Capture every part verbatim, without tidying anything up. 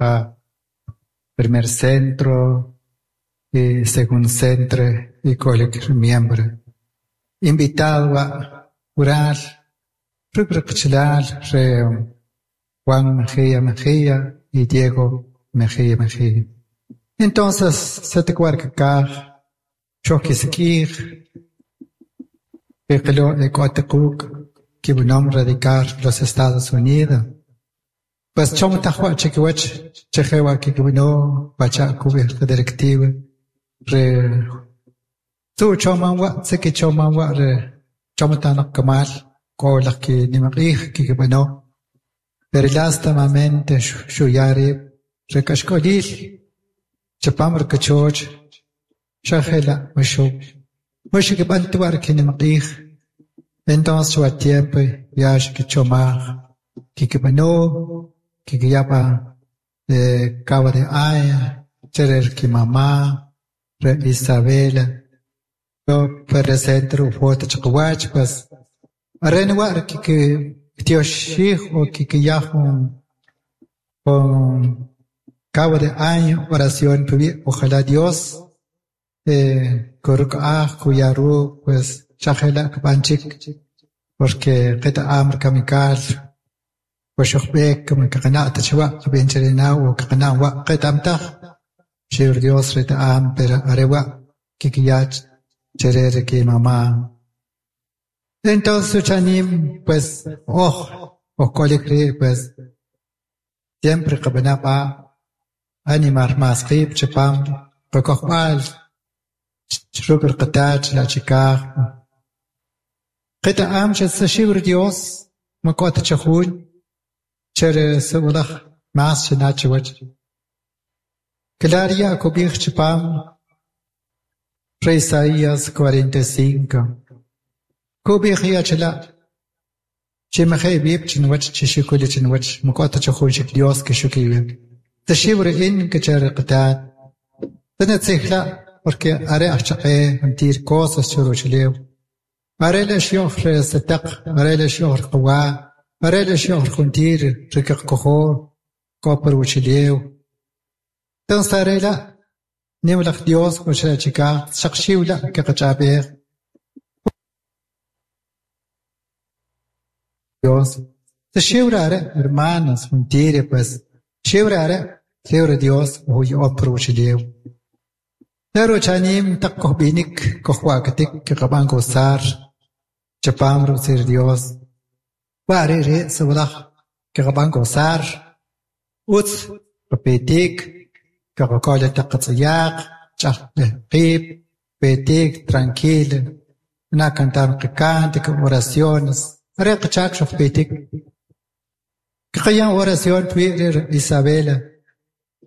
pa primer centro y segundo centro icolic miembro invitado huaa' hural rec qachalal re Juan Mejia Mejia y Diego Mejia Mejia. Entonces satacuarcacaj xoquisequij equilo ecuatacuc quibinom radicar los Estados Unidos pues chomtajuac chiquihuach chejeua quiquibino pacha cubij directiva re su chomanhua sequichomanhua re chomatanak camal colaj que nimaq'ij quiquibano pero lastimamente xuyari recaxcolil chapam rcachoch xajela maxo maxo que nimaq'ij entonces chua tiempo ya xiquichomaj quiquibano quiquiyapa eh cabo de año cherer qui mamá re Isabela yo presento foto chaqwach pues arenwa que tioxij o quiquiyaj con cabo de año oración ojalá Dios eh corcaj cuyaru pues chajela banchik porque qeta amr kamikal وشخبيك كما كقناة تشوا بين شرينا وكقناة وقت أمتخ شير Dios reta am pero arewa kikiyach cherere que mamá entonces chanim pues oh o colecre pues siempre qabanaba animar más qib chapam qakojbal chrukr qatach la chikaj qeta am shibr Dios makot chajun chere sewlaj mas chinachwach Claria kubij chapam Re Isaías cuarenta y cinco kubij yachla chimje bib chinwach chishikuli chinwach makot chajun shik Dios ke shukiwe tashibr in ke chere qatat tanatsihla porque are achaqe mentir cosas churuchlew are la shiohr sataq are la shiohr qawa are la shiohr khuntir rikaqkojo koper wuchlew tansarela nimlaq Dios uchachika shaqshiwla kaqachabeq Dios tashiwrare hermanos juntir pues shiwrare shiwra Dios uy opro wuchlew Pero chanim taqohbinik kohwaketik kaqaban gozar chapam sir Dios ware re sawlaj kaqaban gozar uts papetik kaqokola taqatsayaq chaqqib petik tranquilo na cantar cántico oraciones re qachak petik kaqayan oración twi Isabela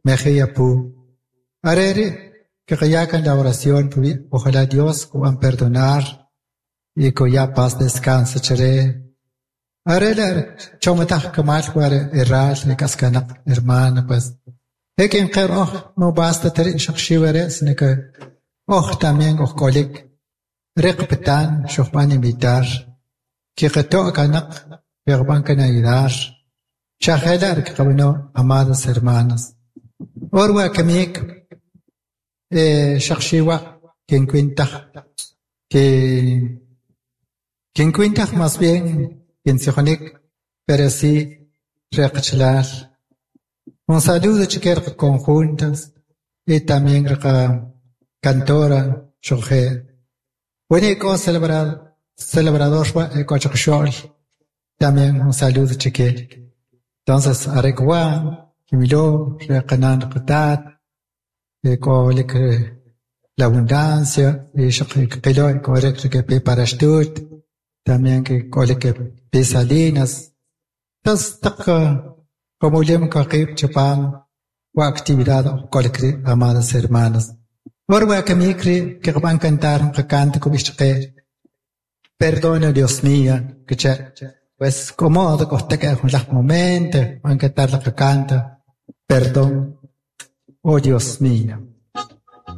Mejia pu arere que kayakan la oración ojalá Dios puedan perdonar y que ya paz descansa chere arela chomatah kamal ware erral kaskanak hermana pues hekin qer oh no basta ter shakhshiware sino que oh también oh kolik reqpetan shokhban invitar que qato kanak yerban kan ayudar shahelar que amadas hermanas orwa kamik eh shakhshiwa quien cuenta que quien cuenta más bien quien se jonik pero sí reqchlal un saludo chiquer conjuntas y también reqa cantora shoje bueno celebrar celebrador cochxol también un saludo chiquer entonces areqwa kimilo reqanan qatat kolik la abundancia y shaqilo korek que preparastut también que kolik pesalinas entonces tak como lem kaqib chapan wa actividad kolik amadas hermanas orwa kamikri que van cantar cante kubishqe perdona Dios mío que che pues como de costa que un las momento van cantar la canta perdón oh Dios mío.